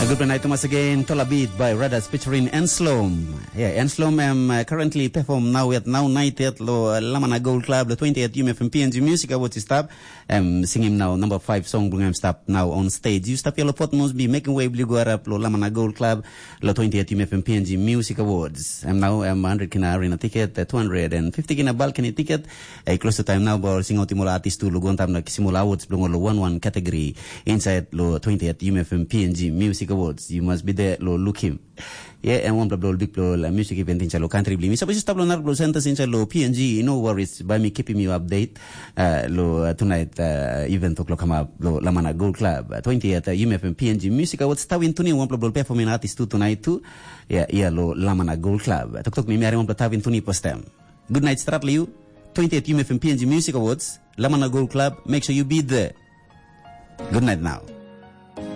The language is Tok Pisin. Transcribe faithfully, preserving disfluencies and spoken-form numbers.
Good night once again. Tola Beat by Radas featuring Enslom. Yeah, Enslom am uh, currently perform now at now night at lo uh, Lamana Gold Club, the twentieth U M F M P N G Music Awards stop. Um, sing him now number five song bring him stop now on stage. You stop your pot must be making way blue go up lo Lamana Gold Club, lo twentieth U M F M P N G Music Awards. Um, now um, one hundred kina arena ticket, uh, two hundred fifty kina balcony ticket. Eh, close to time now, ba ol singaut i mol artist tu lo go on time na kisim ol awards bilong ol one one category inside lo twentieth U M F M P N G Music Awards. You must be there lo look him. Yeah, and one blo big blo la music event inside lo country bli. Mi suppose stop lo nar blo centers inside lo P N G. You know worries by me keeping you update. Uh, lo uh, tonight uh, event o'clock come up lo Lamana Gold Club uh, twentieth uh, U M F M P N G Music Awards. Tawin tuni one blo performing artist tu tonight tu. Yeah, yeah lo Lamana Gold Club. Tok tok mi mi ari one blo tawin tuni postem. Good night, Stratliu. twentieth U M F M P N G Music Awards, Lamana Gold Club. Make sure you be there. Good night now.